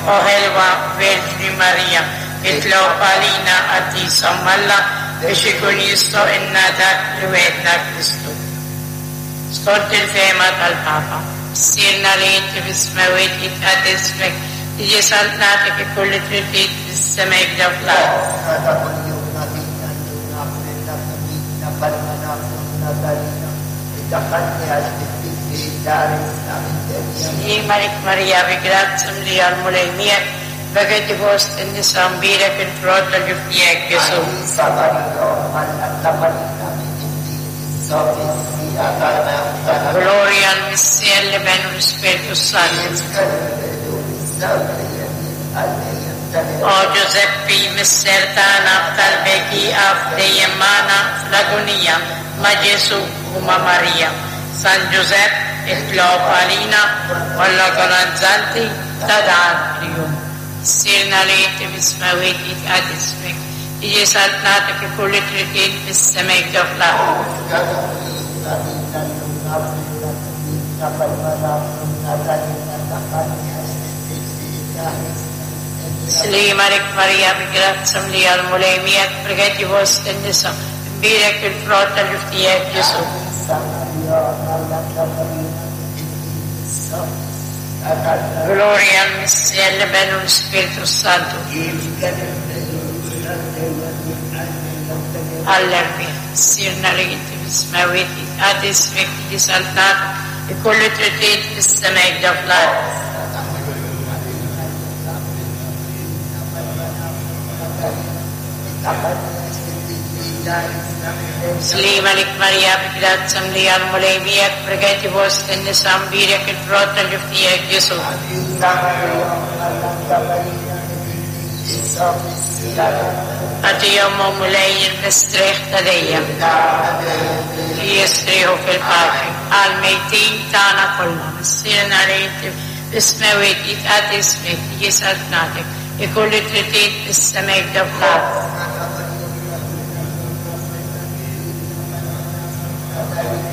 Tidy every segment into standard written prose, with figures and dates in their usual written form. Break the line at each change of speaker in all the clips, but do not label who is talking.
O ħelwa Verġni Marija, itlob għalina qaddisa Omm Alla biex ikun jistħoqilna dak li wegħedna Kristu. Skont il-fehma tal-Papa. Missierna li inti fis-smewwiet jitqaddes ismek, tiġi saltnatek ikun li trid int fis-sema hekk fl-art.
Ħobżna ta' kuljum agħtina llum aħfrilna dnubietna bħalma naħfru aħna tagħlina Iddaħħalniex fit-tifrix ta' ħarisna mid-deni.
Sliem għalik Marija bi grazzja mlija l-Mulej miegħek, Bagħti fost in-nisa mbierek il-frott tal-ġuf tiegħek, Ġesù.
Qaddisa Marija Omm Alla tlabb għalina midinbin issa u fis-siegħa tal-mewt tagħna.
Glorja l-Missier, l-Iben u l-Ispirtu s-Santu.
Kif kien fil-bidu, issa u dejjem, għal dejjem tal-dejjem.
O Ġużeppi, Missier tagħna, b'talbek ieqaf dejjem magħna fl-agunija, ma' Ġesù u ma' Marija. San Ġużepp, itlob għalina u għall-agonanzanti ta' dan il-jum. Missierna li inti fis-smewwiet jitqadd ismek, tiġi saltnatek ikun li trid int fis-sema hekk ġo fl-art.
Ħobżna ta' kuljum agħtina llum, aghfrilna dnubietna bħalma naghfru aħna tagħlina, ddaħħalniex fit-tiġrib taħrisna mid-deni.
Sliem għalik Marija bi grazzja mlija l-Mulej miegħek, breketi fost in-nisa, imbierek il-frott tal-ġuf tiegħek Ġesù.
Qaddisa Marija Omm Alla tlabb għalina midinbin issa u fis-siegħa tal-mewt.
Glorja l-Missier, l-Iben u l-Ispirtu s-Santu.
Kif kien fil-bidu, issa u dejjem, għal dejjem tal-dejjem.
Għall-erwieħ. Missierna li inti fis-smewwiet, jitqadd ismek, tiġi saltnatek, ikun li trid int fis-sema hekk ġo fl-art.
Ħobżna ta' kuljum agħtina llum, aghfrilna dnubietna bħalma naghfru aħna tagħlina, iddaħħalniex fit-tiġrib taħrisna mid-deni.
Sliem għalik Marija bi grazzja mlija l-Mulej miegħek, breketi fost in-nisa mbierek il-frott tal-ġuf tiegħek Ġesù.
Qaddisa Marija Omm Alla tlabb għalina midinbin issa u fis-siegħa tal-mewt.
Agħtihom o Mulej il-mistrieħ ta' dejjem. Li jistrieħu fil-paċi. Għall-mejtin tagħna kollha. Missierna li inti fis-smewwiet jitqadd ismek, tiġi saltnatek, ikun li trid int fis-sema hekk ġo fl-art.
Ħobżna ta' kuljum agħtina llum, aghfrilna dnubietna bħalma naghfru aħna tagħlina,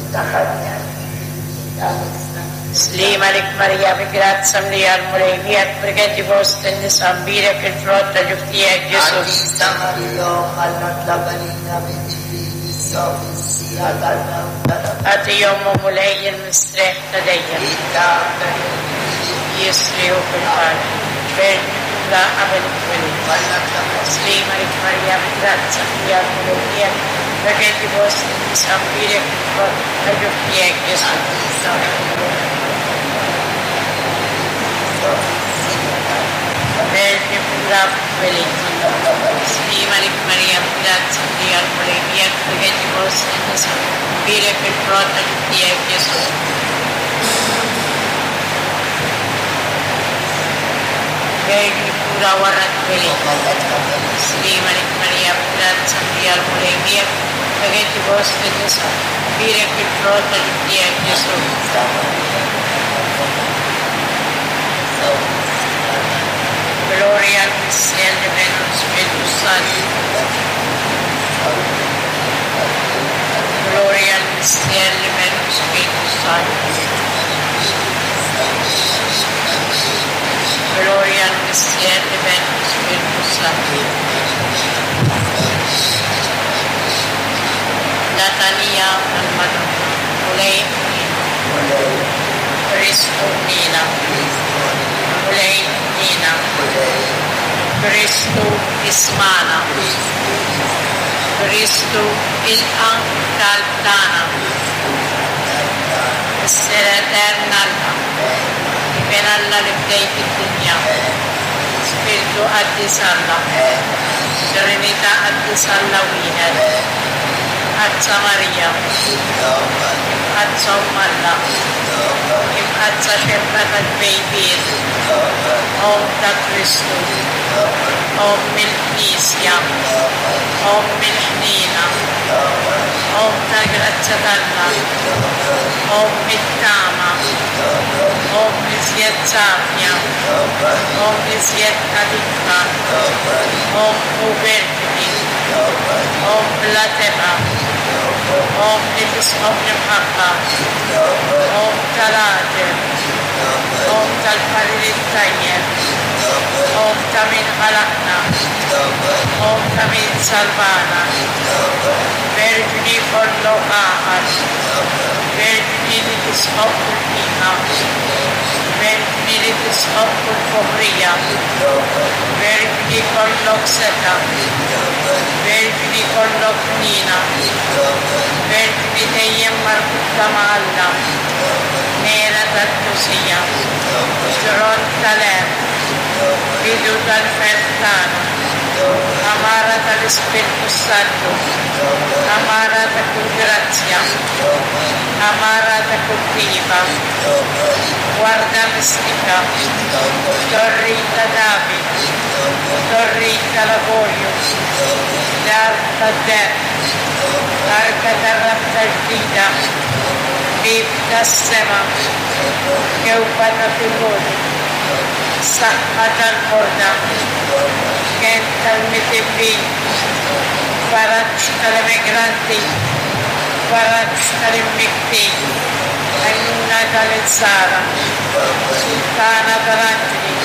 iddaħħalniex fit-tiġrib taħrisna mid-deni.
Sliem għalik Marija bi grazzja mlija l-Mulej miegħek, breketi fost in-nisa mbierek il-frott tal-ġuf tiegħek Ġesù.
Qaddisa Marija Omm Alla tlabb għalina midinbin issa u fis-siegħa tal-mewt tagħna.
Agħtihom o Mulej il-mistrieħ ta' dejjem. Jistrieħu fil-paċi. Verġni pura qabel it-twelid. Sliem għalik Marija bi grazzja mlija l-Mulej miegħek, breketi fost in-nisa mbierek il-frott tal-ġuf tiegħek Ġesù. Verġni pura fit-twelid. Sliem għalik Marija bi grazzja mlija l-Mulej miegħek, breketi fost in-nisa mbierek il-frott tal-ġuf tiegħek Ġesù. Verġni pura wara t-twelid. Sliem għalik Marija bi grazzja mlija l-Mulej miegħek, breketi fost in-nisa mbierek il-frott tal-ġuf tiegħek Ġesù. Glorja l-Missier, l-Iben u l-Ispirtu s-Santu. Glorja l-Missier, l-Iben u l-Ispirtu s-Santu. Glorja l-Missier, l-Iben u l-Ispirtu s-Santu. Latanija tal-Madonna, Mulej ħniena. Kristu ħniena. Mulej ħniena. Kristu ismagħna. Kristu ilqa' t-talb tagħna. Missier etern Alla, Iben Alla li fdejt id-dinja, Spirtu Qaddis Alla, Trinità Qaddis Alla wieħed, Imqaddsa Marija, Imqaddsa Omm Alla, Imqaddsa Xebba tat-Tbejbiet, Omm ta' Kristu, Omm il-Knisja, Omm il-Ħniena, Omm tal-Grazzja t'Alla, Omm it-Tama, Omm l-iżjed safja, Omm l-iżjed nadifa, Omm u Verġni, Omm bla tebgħa, Omm li tisħob l-imħabba, Omm tal-għaġeb, Omm tal-parir it-tajjeb. ta' min ħalaqna, Omm ta' min salvana, Verġni kollok għaqal, Verġni li tisħoq kull qima, Verġni li tisħoq kull foħrija, Verġni kollok setgħa, Verġni kollok ħniena, Verġni dejjem marbuta ma' Alla, Mera tal-qdusija, Tron tal-għerf, Bidu tal-ferħ tagħna, Għamara tal-Ispirtu s-Santu, Għamara ta' kull grazzja, Għamara ta' kull tieba, Warda mistika, Torri ta' David, Torri tal-avorju, Dar tad-deheb, Arka tar-rabta ġdida, Bieb tas-sema, Kewkba ta' filgħodu, Saħħa tal-morda, Kenn tal-midinbin, Faraġ tal-emigranti, Faraġ tal-imnikktin, Għajnuna tal-insara, Sultana tal-anġli,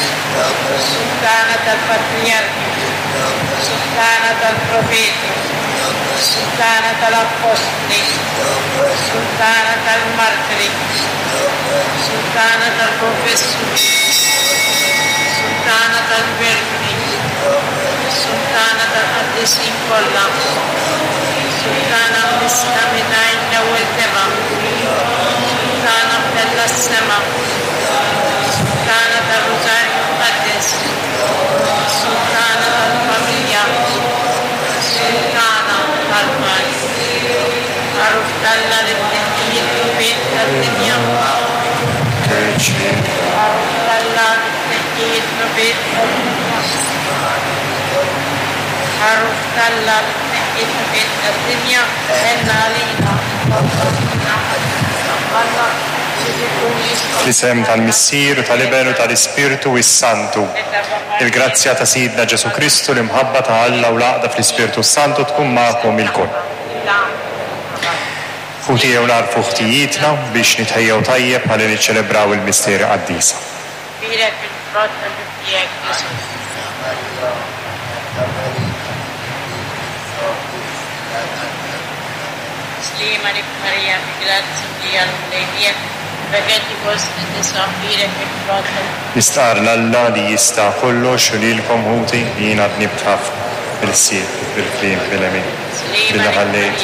Sultana tal-patrijarki, Sultana tal-profeti, Sultana tal-appostli, Sultana tal-martri, Sultana tal-konfessuri, Sultana tal-verġni, Sultana tal-qaddisin kollha, Sultana mnissla mingħajr l-ewwel tebgħa, Sultana mtellgħa s-sema, Sultana tar-Rużarju Mqaddes, Sultana tal-familja, Sultana tal-paċi. Għaruf t'Alla li tneħħi d-dnubiet tad-dinja. Għaruf t'Alla li tneħħi d-dnubiet tad-dinja. Għaruf t'Alla li tneħħi d-dnubiet tad-dinja, ħenn għalina. Alla
Fl-isem tal-Missier u tal-Iben u tal-Ispirtu s-Santu. Il-grazzja ta' Sidna Ġesù Kristu, l-imħabba ta' Alla u l-għaqda fl-Ispirtu s-Santu tkun magħkom ilkoll. Ħuti ejjew nagħrfu ħtijietna biex nitħejjew tajjeb ħalli niċċelebraw il-misteri qaddisa.
Bierek il-frott tal-ġuf tiegħek, Ġesù. Sliem għalik Marija, bi grazzja mlija l-Mulej miegħek, imbegħed fost in-nisa, bierek il-frott tal.
Nistqarr 'l Alla li jista' kollox u lilkom ħuti li jiena dnibt ħafna, bil-ħsieb, bil-kliem, bil-għemil, billi ħallejt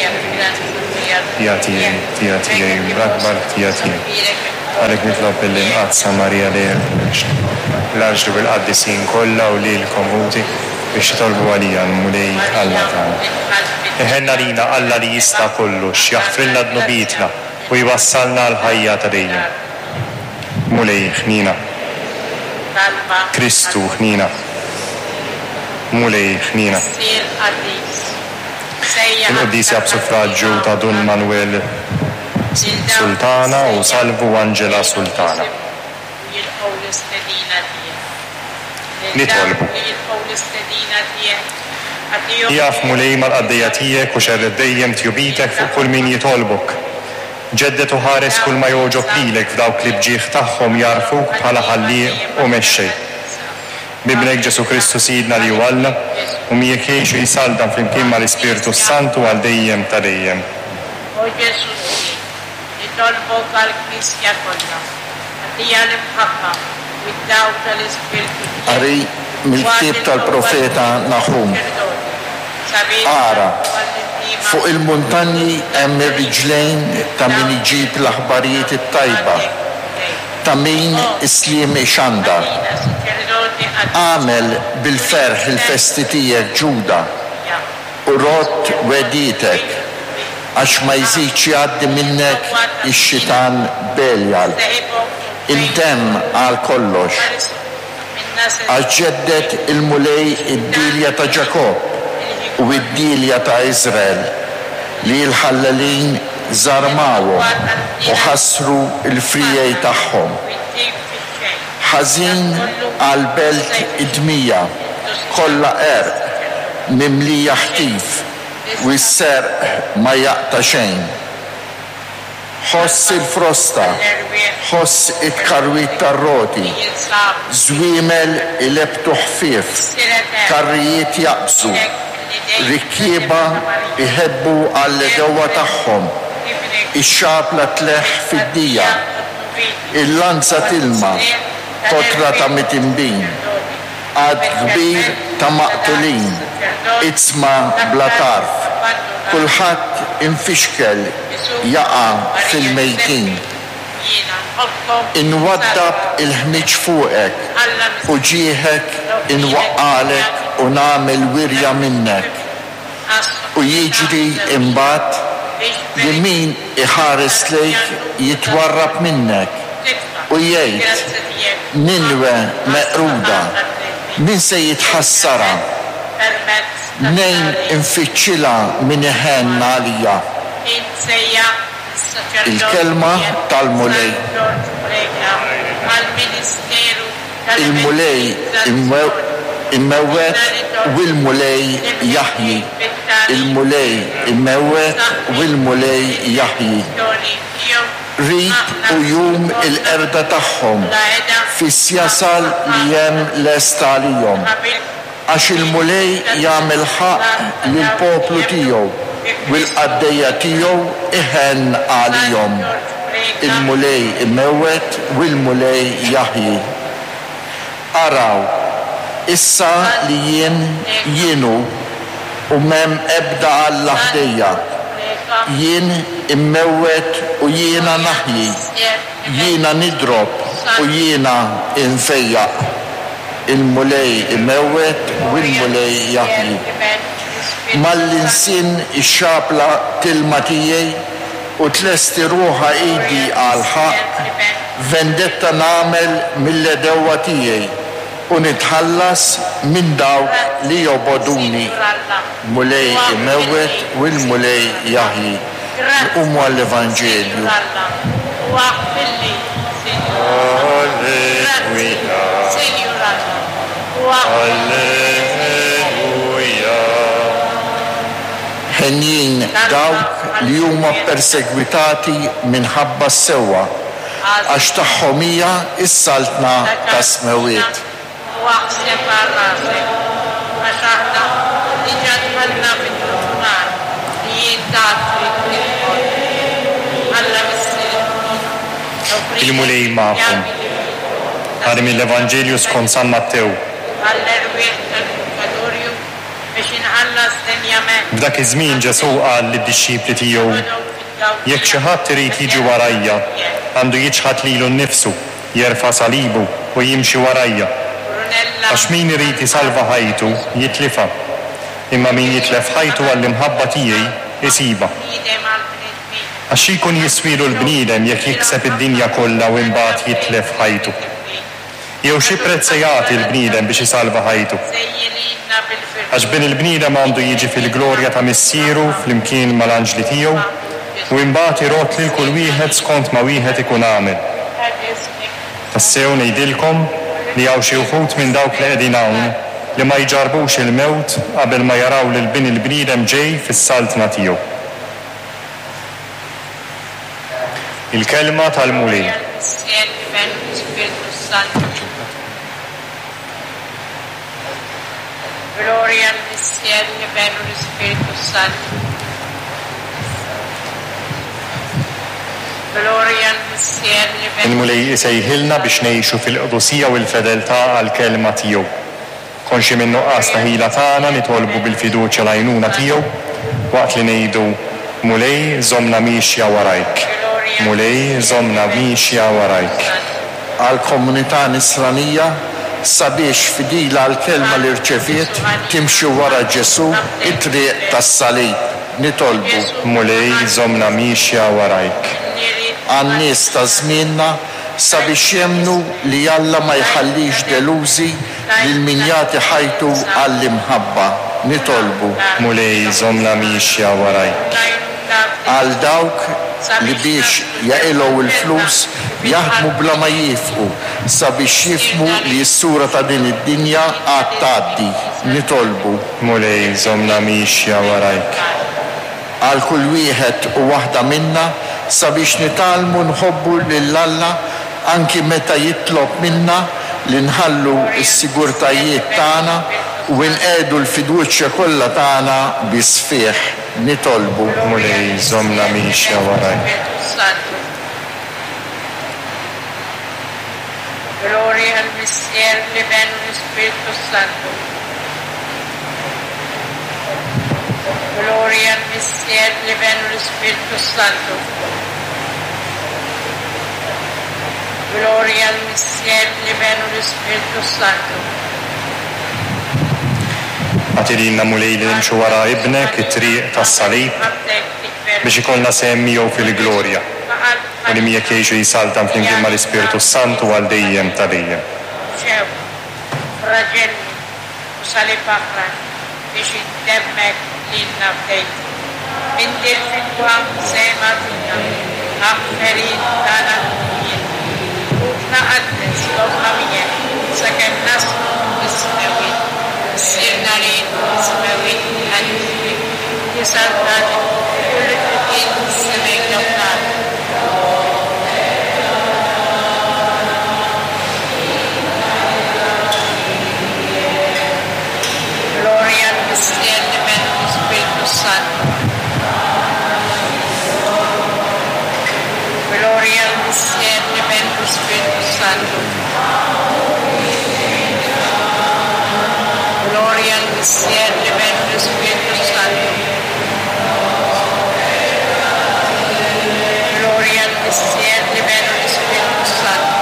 ħtija tiegħi, ħtija tiegħi, l-akbar ħtija tiegħi. Għalhekk nitlob lill-Imqaddsa Marija dejjem Verġni, l-anġli u l-qaddisin kollha u lilkom ħuti biex titolbu għalija l-Mulej Alla tagħna. Iħenn għalina Alla li jista' kollox, jaħfrilna dnubietna u jwassalna għall-ħajja ta' dejjem. Mulej, ħniena. Kristu, ħniena. Mulej, ħniena. Il-quddiesa b'suffraġġju ta' Dun Manuel Sultana u Salvu Angela Sultana. Nitolbu. Ieqaf, Mulej, mal-qaddejja tiegħek u xerred dejjem tjubitek fuq kull min jitolbok. Ġedded u ħares kull ma jogħġob lilek f'dawk li b'ġieħ tagħhom jagħrfuk bħala Ħallieq u Mexxej. B'Ibnek Ġesù Kristu Sidna li hu Alla, u miegħek jgħix u jsaltan flimkien mal-Ispirtu s-Santu għal dejjem ta' dejjem.
O Ġesù tiegħi, nitolbok għall-Knisja kollha, agħtiha l-imħabba u d-dawl tal-Ispirtu tiegħek,
Qari
u agħti
mill-ktieb
l-qawwa
tal-profeta
lill-kulħadd
Naħum.
saċerdoti, sabiex
Ara,
jagħtu għall-indiema
fuq il-muntanji hemm ir-riġlejn ta' min iġib l-aħbarijiet it-tajba, ta' min is-sliem ixandar. Agħmel bil-ferħ il-festi tiegħek, Ġuda, u rodd wegħdietek, għax ma jżidx jgħaddi minnek ix-xitan Belial. Intemm għal kollox. Għax ġedded il-Mulej id-dielja ta' Ġakobb u d-dielja ta' Iżrael, li l-ħallelin żarmawhom u ħassru l-friegħi tagħhom. Ħażin għall-belt id-dmija, kollha qerq, mimlija ħtif, u s-serq ma jaqta' xejn. Ħoss il-frosta, ħoss it-tkarwit tar-roti, żwiemel ilebbtu ħfief, karrijiet jaqbżu, rikkieba jħebbu għall-għedewwa tagħhom, ix-xabla tleħħ fid-dija, il-lanza tilma, kotra ta' mitinbin. Għadd kbir ta' maqtulin, iġsma bla tarf, kulħadd imfixkel jaqa' fil-mejtin. Inwaddab il-ħmieġ fuqek, u ġieħek inwaqqagħlek u nagħmel wirja minnek. U jiġri imbagħad li min iħares lejk jitwarrab minnek, u jgħid, 'Ninwe meqruda, min se jitħassarha? Mnejn infittxilha min iħenn għalija? Il-kelma tal-Mulej. Il-Mulej imewwet u l-Mulej jaħji, il-Mulej imewwet u l-Mulej jaħji. Qrib hu jum il-qerda tagħhom, fis jasal li hemm lest għalihom. Għax il-Mulej jagħmel ħaqq lill-poplu tiegħu, u l-qaddejja tiegħu iħenn għalihom. Il-Mulej imewwet u l-Mulej jaħji. Araw, issa li jien, jien hu, u m'hemm ebda alla ħdejja. Jien immewwet u jiena naħji, jiena nidrob u jiena nfejjaq. Il-Mulej imewwet u l-Mulej jaħji. Malli nsinn ix-xabla tilma tiegħi u tlesti ruħha idi għall-ħaqq, vendetta nagħmel mill-għedewwa tiegħi u nitħallas minn dawk li jobogħduni. Mulej imewwet u l-Mulej jaħji. Nqumu għall-Evanġelju. Henjin dawk li huma ppersegwitati minħabba s-sewwa, għax tagħhom hija s-saltna tas-smewwiet.
U aħseb għal rasek, għax aħna diġà dħalna fin-nofsinhar li int għad trid tidħol. Alla Missier offrilek
Il-Mulej magħkom.
pjagi divini
Qari mill-Evanġelju skont San Mattew.
għall-erwieħ tal-purgatorju biex inħallas denjament
F'dak iż-żmien Ġesù qal lid-dixxipli tiegħu, Jekk xi ħadd irid jiġi warajja, għandu jiċħad lilu nnifsu, jerfa' salibu u jimxi warajja. Għax min irid isalva ħajtu, jitlifha, imma min jitlef ħajtu għall-imħabba tiegħi, isibha. Għax xi jkun jiswielu l-bniedem jekk jikseb id-dinja kollha u imbagħad jitlef ħajtu? Jew xi prezz se jagħti l-bniedem biex isalva ħajtu? Għax Bin il-bniedem għandu jiġi fil-glorja ta' Missieru flimkien mal-anġli tiegħu, u imbagħad irodd lil kull wieħed skont ma wieħed ikun għamel. Tassew ngħidilkom li hawn xi wħud minn dawk li qegħdin hawn li ma jġarrbux il-mewt qabel ma jaraw lil Bin il-bniedem ġej fis-saltna tiegħu. Il-Kelma tal-Mulej.
Glorja l-Missier, l-Iben u l-Ispirtu s-Santu. Glorja l-Missier, l-Iben.
Il-Mulej isejħilna biex ngħixu fil-qdusija u l-fedeltà għall-Kelma tiegħu. Konxji min-nuqqas ta' ħila tagħna nitolbu bil-fiduċja l-għajnuna tiegħu waqt li ngħidu, Mulej, żommna miexja warajk. Mulej, żommna miexja warajk.
Għall-komunità Nisranija sabiex, fidila għall-kelma li rċeviet, timxi wara Ġesù it-triq tas-salib. Nitolbu.
Mulej, żommna miexja warajk.
Għan-nies ta' żmienna sabiex jemmnu li Alla ma jħallix delużi lil min jagħti ħajtu għall-imħabba. Nitolbu.
Mulej, żommna miexja warajk.
Għal dawk li biex jaqilgħu l-flus jaħdmu bla ma jiefqu sabiex jifhmu li s-sura ta' din id-dinja għad tgħaddi. Nitolbu.
Mulej, żommna miexja warajk.
Għal kull wieħed u waħda minna. sabiex nitgħallmu nħobbu lil Alla anki meta jitlob minna li nħallu s-sigurtajiet tagħna u nqiegħdu l-fiduċja kollha tagħna biss fih. Nitolbu.
Mulej, żommna miexja warajk.
Glorja l-Missier, l-Iben u l-Ispirtu s-Santu. Glorja l-Missier, l-Iben u l-Ispirtu s-Santu. Glorja l-Missier, l-Iben u l-Ispirtu s-Santu.
Agħti lilna, Mulej, li nimxu wara Ibnek it-triq tas-salib biex ikollna sehem miegħu fil-glorja, u li miegħek jgħix u jsaltan flimkien mal-Ispirtu s-Santu għal dejjem ta' dejjem.
Xewk, fraġelli u salib aħrax biex int demmek lilna fdejt. Minn dil-fidwa sehem agħtina, aħfer int tagħna dnubiet. Ruħna qaddes, żommna miegħek sakemm naslu fis-smewwiet. Missierna li int fis-smewwiet, tqaddes ismek, tiġi saltnatek, ikun li trid int fis-sema jew fl-art. Glorja l-Missier, l-Iben u l-Ispirtu s-Santu. Glorja l-Missier, l-Iben u l-Ispirtu s-Santu. Glorja l-Missier, l-Iben u l-Ispirtu s-Santu. Glorja l-Missier, l-Iben u l-Ispirtu s-Santu.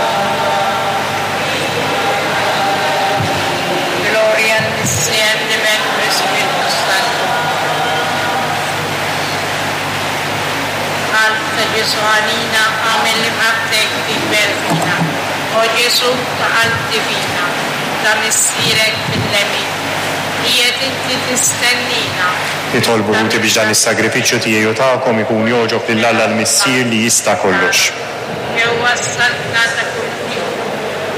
Glorja l-Missier, l-Iben u l-Ispirtu s-Santu. Qalb ta' Ġesù għalina, agħmel li mħabbtek tikber fina. O Ġesù ta' qalb divina, ta' Missierek fil-lemin, qiegħed inti tistennina.
Nitolbu ħuti biex dan is-sagrifiċċju tiegħi u tagħkom ikun jogħġob lil Alla l-Missier li jista' kollox.
Ġewwa s-saltna ta' kull ħin,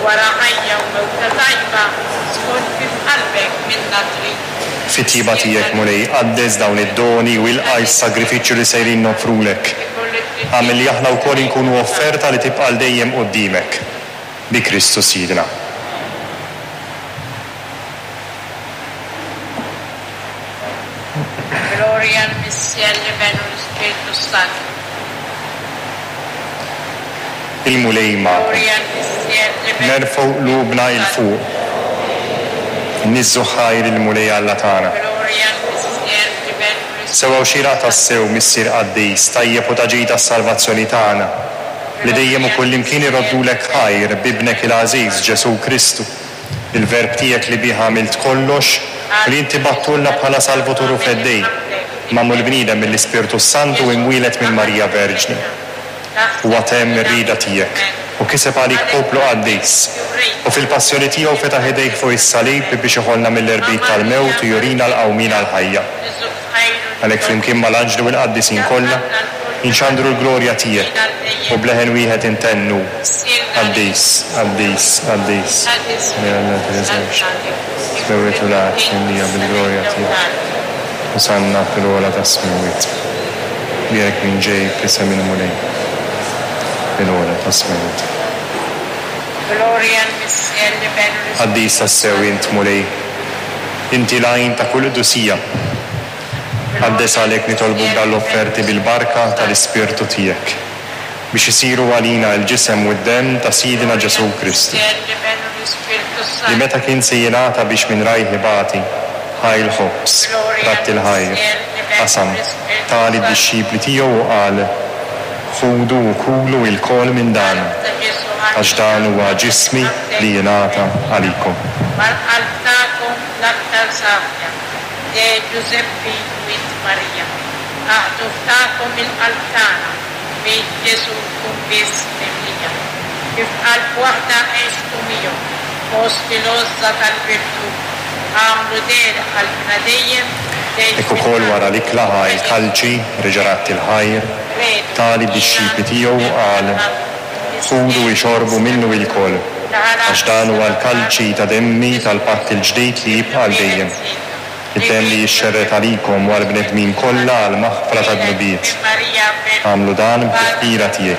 wara ħajja u mewta tajba, skont kif qalbek minna trid.
Fit-tjieba tiegħek, Mulej, qaddes dawn id-doni u ilqa' s-sagrifiċċju li sejrin noffrulek. Agħmel li aħna wkoll inkunu offerta li tibqa' għal dejjem quddiemek. Bi Kristu Sidna.
Glorja l-Missier, l-Iben u l-Ispirtu s-Santu.
Il-Mulej magħkom. Nerfgħu qlubna 'l fuq. Niżżu ħajr il-Mulej Alla tagħna. Sewwa u xieraq tassew, Missier qaddis, tajjeb u ta' ġid għas-salvazzjoni tagħna, li dejjem u kullimkien irroddulek ħajr b'Ibnek il-għażiż Ġesù Kristu, il-Verb tiegħek li bih għamilt kollox u li inti bgħattulna bħala Salvatur u Feddej, magħmul bniedem mill-Ispirtu s-Santu u imwieled minn Marija Verġni. Huwa temm ir-rieda tiegħek u kiseb għalik poplu qaddis, u fil-passjoni tiegħu fetaħ idejh fuq is-salib biex iħollna mill-irbit tal-mewt u jurina l-qawmien għall-ħajja. Għalhekk flimkien mal-anġli u l-qaddisin kollha, inxandru l-glorja tiegħek u b'leħen wieħed intennu, Qaddis, qaddis, qaddis, Mulej Alla tal-eżerċti, is-smewwiet u l-art mimlija bil-glorja tiegħek. Osanna fil-ogħla tas-smewwiet. Bierek min ġej f'isem il-Mulej, fil-ogħla tas-smewwiet. Qaddis tassew int, Mulej, inti l-għajn ta' kull qdusija. Qaddes għalhekk nitolbuk dan l-offerti bil-barka tal-Ispirtu tiegħek, biex isiru għalina l-ġisem u d-demm ta' Sidna Ġesù Kristu, li meta kien se jingħata biex minn rajh ibati, ħa l-ħobż, radd il-ħajr, qasam, ta lid-dixxipli tiegħu u qal, Ħudu u kulu ilkoll minn dan, għax dan huwa ġismi li jingħata għalikom.
Mal-qalb tagħkom l-aktar safja, De Ġużeppi u int Marija, Aħdu f'tagħkom il-qalb tagħna, B'id Ġesù tkun biss mimlija. Kif qalb waħda għextu miegħu, Fost il-għożża tal-virtù, Agħmlu dehra qalbna dejjem, Tgħix
Hekk ukoll
fil-qalb
wara l-ikla ħa l-kalċi, reġa' radd il-ħajr, ta lid-dixxipli tiegħu u qal, Ħudu ixorbu minnu ilkoll, għax dan huwa l-kalċi ta' demmi tal-patt il-ġdid li jibqa' għal dejjem. Id-demm li jixxerred għalikom u għall-bnedmin kollha għall-maħfra tad-dnubiet. Agħmlu dan b'tifkira tiegħi.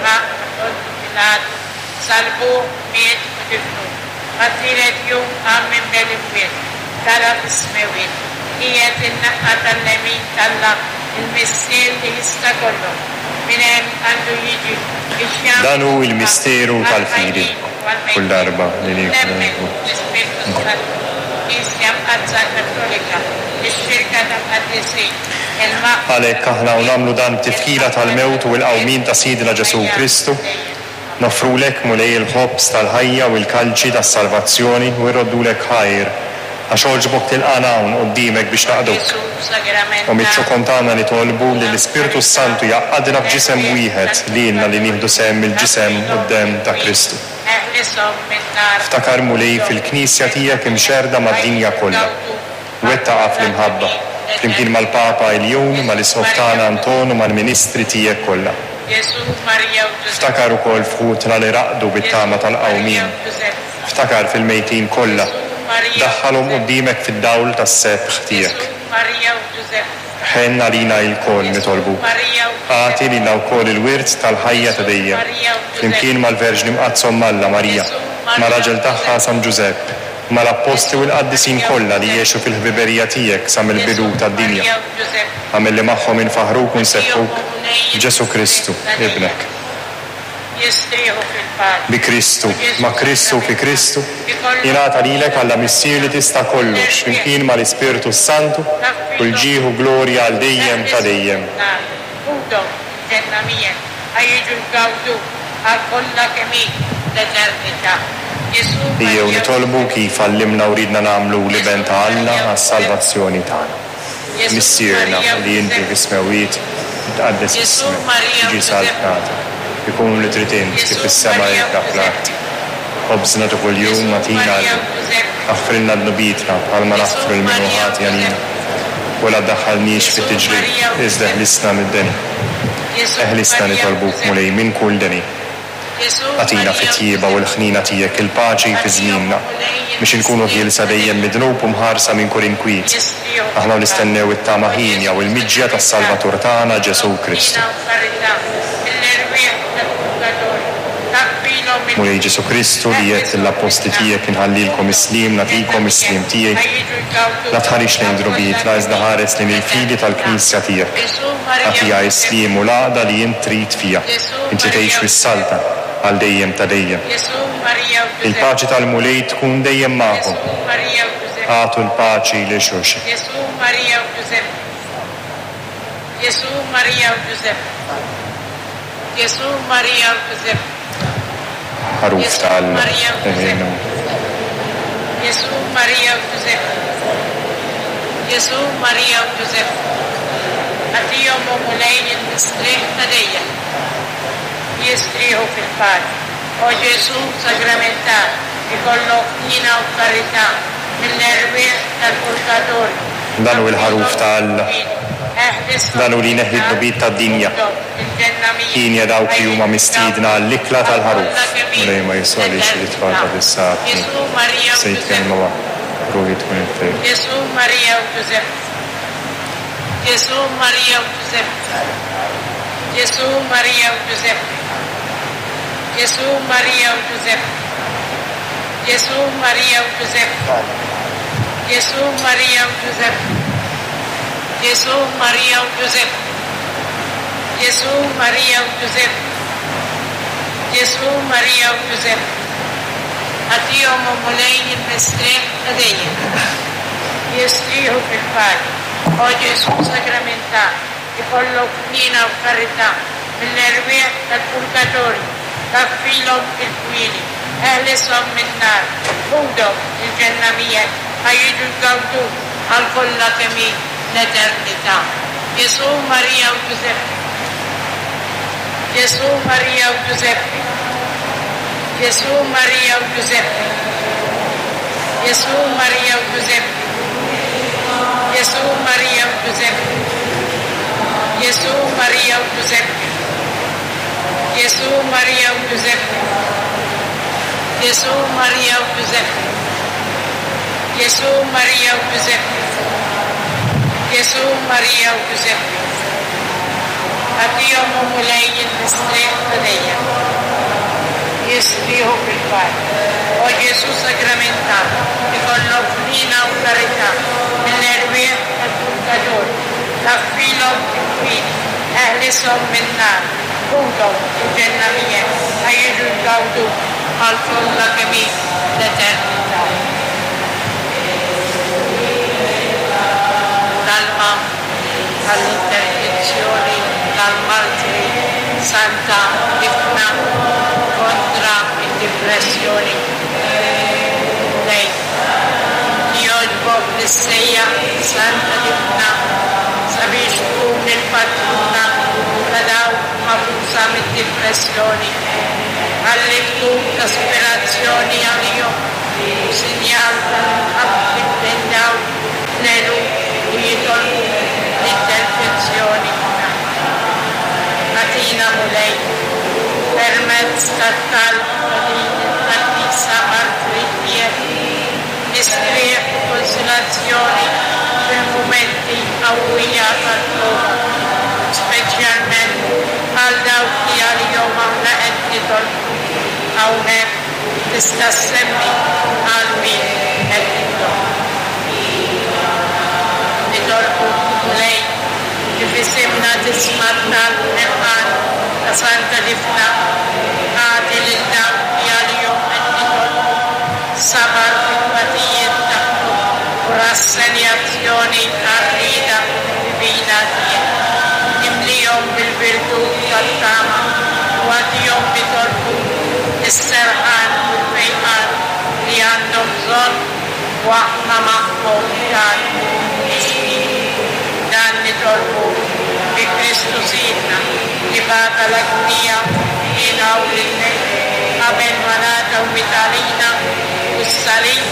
Dan hu l-misteru tal-fidi. Kull darba li nieklu l-ħobż. Għalhekk aħna u nagħmlu dan b'tifkira tal-mewt u l-qawmien ta' Sidna Ġesù Kristu, noffrulek, Mulej, il-ħobż tal-ħajja u l-kalċi tas-salvazzjoni u rroddulek ħajr għax għoġbok tilqagħna hawn quddiemek biex naqduk. U miċ-ċokon tagħna nitolbu li l-Ispirtu s-Santu jgħaqqadna f'ġisem wieħed lilna li nieħdu sehem mill-ġisem u d-demm ta' Kristu. Ftakar, Mulej, fil-Knisja tiegħek imxerrda mad-dinja kollha. Wettaqha fl-imħabba, flimkien mal-Papa Iljun, mal-Isqof tagħna Anton u mal-ministri tiegħek kollha. Ftakar ukoll f'ħutna li raqdu bit-tama tal-qawmien. Ftakar fil-mejtin kollha. Daħħalhom quddiemek fid-dawl tas-sebħ tiegħek. Ħenn għalina ilkoll, nitolbuk. Agħti lilna wkoll il-wirt tal-ħajja ta' dejjem, flimkien mal-Verġni Mqaddsa Omm Alla, Marija, mar-raġel tagħha San Ġużepp, mal-Appostli u l-qaddisin kollha li għexu fil-ħbiberija tiegħek sa mill-bidu tad-dinja. Agħmel li magħhom infaħħruk u nsebbħuk b'Ġesù Kristu, Ibnek. Bi Kristu, ma' Kristu u fi Kristu, jingħata lilek Alla Missier li tista' kollox, flimkien mal-Ispirtu s-Santu, kull ġieħ u glorja għal dejjem ta' dejjem. Ejjew nitolbu kif għallimna u riedna nagħmlu l-Iben ta' Alla għas-salvazzjoni tagħna. Missierna li inti fis-smewwiet, jitqaddes ismek, tiġi saltnatek, ikun li trid int kif fis-sema hekk fl-art. Ħobżna ta' kuljum agħtina llum. Aħfrilna dnubietna bħalma naħfru lil min hu ħati għalina. U la ddaħħalniex fit-tiġrib, iżda eħlisna mid-deni. Eħlisna nitolbuk, Mulej, minn kull deni. Agħtina fit-tjieba u l-ħniena tiegħek il-paċi fi żmienna, biex inkunu ħielsa dejjem mid-dnub u mħarsa minn kull inkwiet, aħna u nistennew it-tama hienja u l-miġja tas-Salvatur tagħna Ġesù Kristu. Mulej Ġesù Kristu, li għedt lill-appostli tiegħek inħallilkom is-sliem, nagħtikom is-sliem tiegħi, la tħarisx lejn dnubietna, iżda ħares lejn il-fidi tal-Knisja tiegħek. Agħtiha s-sliem u l-għaqda li int trid fiha, int li tgħix fis-saltna għal dejjem ta' dejjem. Il-paċi tal-Mulej tkun dejjem magħkom. Agħtu l-paċi lil xulxin.
Ġesù, Marija u Ġużeppi.
Ħaruf ta' Alla, eħilna.
Ġesù, Marija u Ġużeppi. Ġesù, Marija u Ġużeppi. Agħtihom, o Mulej, il-mistrieħ ta' dejjem. Jistrieħu fil-paċi. O Ġesù sagramentat, ikollok ħniena u karità mill-erwieħ tal-purgatorju.
Dan hu l-Ħaruf ta' Alla. Dan hu li jneħħi d-dnubiet tad-dinja. Hienja dawk li huma mistiedna għall-ikla tal-Ħaruf. Mulej ma jiswalix li tfal ta' fis-saħħni. Sejt kelma waħda, ruħi tkun infejqa.
Ġesù, Marija u Ġużeppi. Ġesù, Marija u Ġużeppi. Ġesù, Marija u Ġużeppi. Ġesù, Marija u Ġużeppi. Ġesù, Marija u Ġużeppi. Ġesù, Marija u Ġużeppi. Ġesù, Marija u Ġużeppi. Ġesù, Marija u Ġużeppi. Ġesù, Marija u Ġużeppi. Agħtihom, o Mulej, il-mistrieħ ta' dejjem. Jistrieħu fil-paċi. O Ġesù sagramentat, ikollok ħniena u karità mill-erwieħ tal-purgatorju, taffilhom il-kwieni, eħlishom min-nar, ħudhom il-ġenna miegħek ħa jiġu jgawduk għal kollha kemm hi l-eternità. Ġesù, Marija u Ġużeppi. Ġesù, Marija u Ġużeppi. Ġesù, Marija u Ġużeppi. Ġesù, Marija u Ġużeppi. Ġesù, Marija u Ġużeppi. Ġesù, Marija u Ġużeppi. Ġesù, Marija u Ġużeppi. Ġesù, Marija u Ġużeppi. Ġesù, Marija u Ġużeppi. Ġesù, Marija u Ġużeppi. Agħtihom, o Mulej, il-mistrieħ ta' dejjem. Jistrieħu fil-paċi. O Ġesù Sagramentat, ikollok ħniena u karità mill-erwieħ tal-purgatorju, taffilhom il-fidi, eħlishom min-nar, ħudhom il-ġenna miegħek ħa jiġu jgawduk għal kollha kemm hi l-eternità. Talba għall-interċessjoni tal-Martri Santa Difna kontra d-dipressjoni. Mulej, jogħġbok li ssejjaħ Santa Difna sabiex tkun il-patruna ta' dawk magħfusa mid-dipressjoni. Ħalli tkun ta' spirazzjoni għalihom u sinjal tal-imħabbti bejn dawk l-eluf li jitolbu l-interċessjoni tagħha. Agħtina, Mulej, permezz tat-talb ta' din il-qaddisa martri tiegħek, mistrieħ u konsolazzjoni fil-mumenti qawwija tal-prova, speċjalment għal dawk li għalihom aħna qed nitolbu hawnhekk. Tista' ssemmi għal min qed titlob. Nitolbuk, Mulej, li f'isimna tisma' t-talb ħerqan ta' Santa Difna. Agħti lil dawk li għalihom qed nitolbu sabar fit-tbatijiet tagħhom u rassenjazzjoni għar-rieda divina tiegħek. Imlihom bil-virtù tat-tama u agħtihom nitolbuk is-serħan u l-fejqan li għandhom bżonn u aħna magħhom dan nixtiequ. Dan nitolbu bi Kristu Sidna li bata l-agunija minn hawn lil qabel ma ngħata u miet għalina fuq is-salib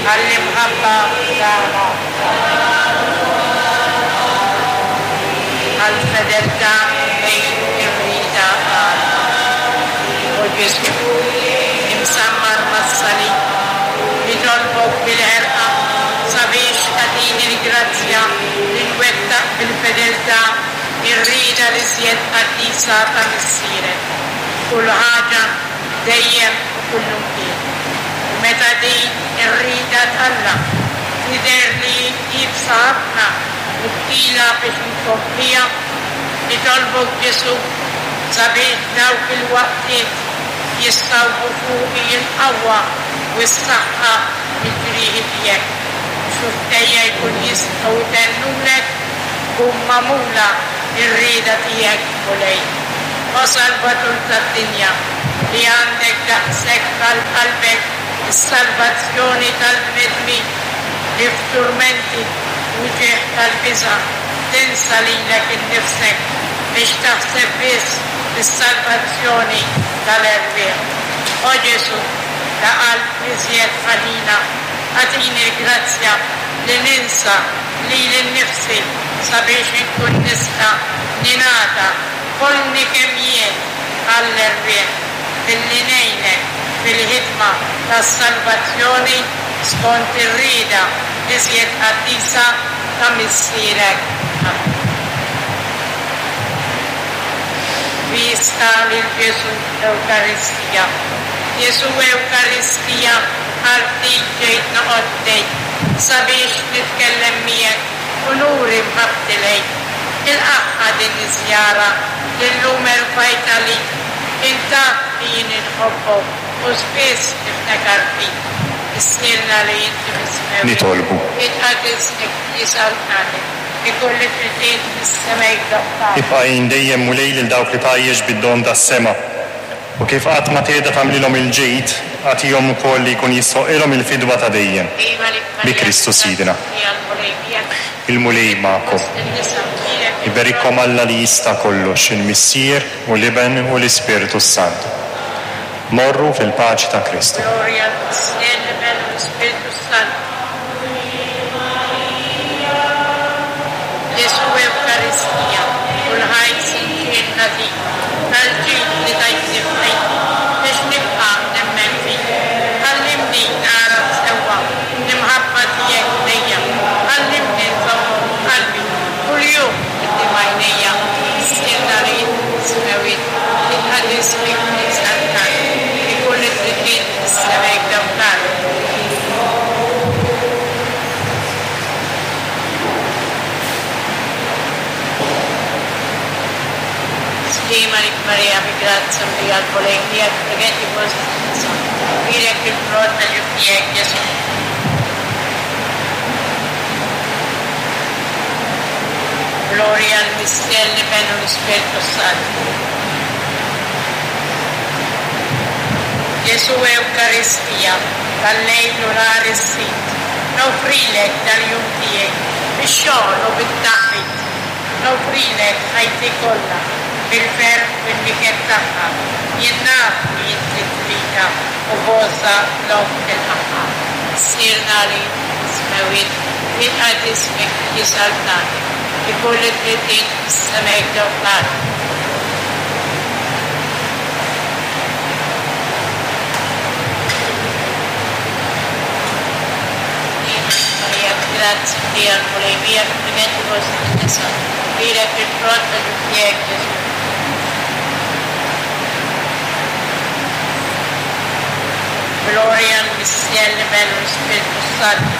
għall-imħabba tagħna. Għall-fedeltà lejn ir-rieda ta' Alla. O Ġesù, imsammar mas-salib, nitolbok bil-ħerqa sabiex tagħtini l-grazzja li nwettaq bil-fedeltà r-rieda l-iżjed qaddisa ta' Missierek, f'kull ħaġa, dejjem u kullumkien. U meta din ir-rieda t'Alla tidher li hi iebsa ħafna u tqila biex inkompliha, nitolbok Ġesù sabiex f'dawk il-waqtiet jissawbu fuqi l-qawwa u s-saħħa mill-ġrieħi tiegħek u xufftejja jkun jistgħu jtennulek tkun magħmula r-rieda tiegħek, Mulej. O Salvatur tad-dinja, li għandek daqshekk għal qalbek is-salvazzjoni tal-bnedmin, li f'turmenti u wġigħ tal-biża' tinsa lilek innifsek biex taħseb biss fis-salvazzjoni tal-erwieħ. O Ġesù, ta' qalb l-iżjed ħanina, agħtini l-grazzja li ninsa lili nnifsi sabiex inkun nista' ningħata kollni kemm jien għall-erwieħ billi ngħinek fil-ħidma tas-salvazzjoni skont ir-rieda l-iżjed qaddisa ta' Missierek. Amen. Vista lil Ġesù Ewkaristija. Ġesù Ewkaristija għal ftit ġejt noqgħod ħdejk sabiex nitkellem miegħek u nuri mħabbti lejk. Ilqagħha din iż-żjara li llum erfajt għalik. Int taf li jien inħobbok u spiss niftakar fik. Missierna li inti fis-smewwiet.
Nitolbu.
Jitqaddis isem Alla. Ikun li trid fis-sema jdoqq.
Ibqa' għin dejjem Mulej lil dawk li tgħajjex bid-don tas-sema. U kif qatt ma tqiegħda tagħmlilhom il-ġid, agħtihom ukoll li jkun jistħoqqilhom il-fidwa ta' dejjem. Bi Kristu Sidna. Il-Mulej magħkom. Iberikkom Alla li jista' kollox, il-Missier, u l-Iben, u l-Ispirtu s-Santu. Morru fil-paċi ta' Kristu.
Ġesù Ewkaristija, u l-ħajt sinċier nagħtik tal-ġid li tajtni f'ħajti biex nibqa' nemmen fik. Għallimni nagħraf sewwa l-imħabba tiegħek lejja, għallimni nżommhom f'qalbi. Marija, bi grazzja mlija l-Mulej miegħek, bniedem fost in-nisa, bierek il-frott tal-ġuf tiegħek, Ġesù. Glorja l-Missier, l-Iben u l-Ispirtu s-Santu. Ġesù Ewkaristija, tal-lejl u nhar is-Sid, noffrilek dal-jum tiegħi, bix-xogħol u bit-taħbit. Noffrilek ħajti kollha, bil-ferħ u bin-niket tagħha. Jien naf li inti tridha u b'għożża dlonk tilqagħha. Missierna li int fis-smewwiet, jitqadd ismek, tiġi saltnatek, ikun li trid int fis-sema hekk ġo fl-art. Marija, Grazzi Mlija l-Mulej miegħek, bniedem fost in-nisa, bierek il-frott ta' ġuf tiegħek Ġesù. Glorja l-Missier, l-Iben u l-Ispirtu s-Santu.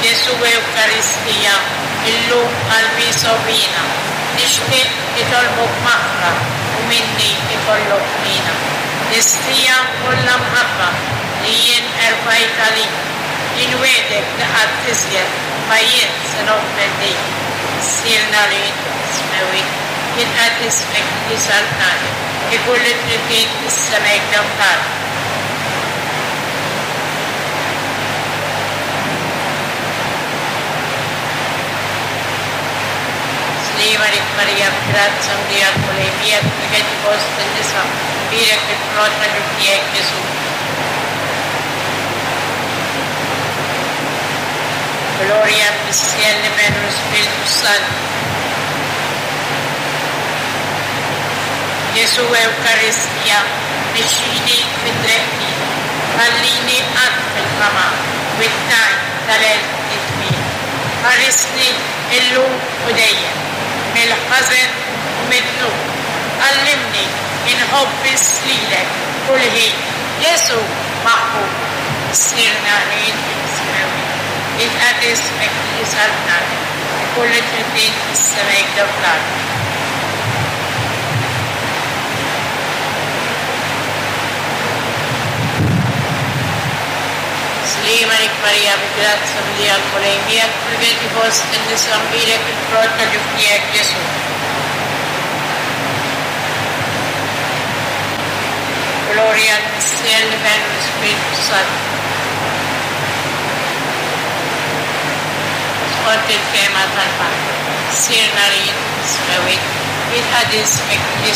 Ġesù Ewkaristija, illum qalbi sogħbina, nixtieq nitolbok maħfra u minni ikollok ħniena. Listija kollha mħabba li jien erfajt għalik, inwiegħdek li qatt iżjed ma jien se noffendik. Missierna li int fis-smewwiet, jitqadd ismek, tiġi saltnatek, ikun li trid int fis-sema hekk ġo fl-art. Sliema lik Marija, b'grazzja mlija l-Mulej miegħek, bniedem fost in-nisa, bierek il-frott ta' ġuf tiegħek Ġesù. Glorja l-Missier, l-Iben u l-Ispirtu s-Santu. Ġesù Ewkaristija, mexxini fit-triq tiegħek, ħallini qatt fil-ħama u t-tajn tal-għerf nitmiegħ. Ħarisni illum u dejjem mill-ħażen u mid-dnub. Għallimni inħobb biss lilek kull ħin, Ġesù maħbub. Missierna li inti fis-smewwiet, jitqadd ismek, tiġi saltnatek, ikun li trid int fis-sema hekk ġo fl-art. Sliema lik Marija, bi grazzja mlija l-Mulej miegħek, Bniedem fost in-nisa mbierek il-frott ta' ġuf tiegħek Ġesù. Glorja l-Missier, l-Iben u l-Ispirtu s-Santu. Skont il-fehma tal-Patt. Missierna li int fis-smewwiet, jitqadd ismek, tiġi.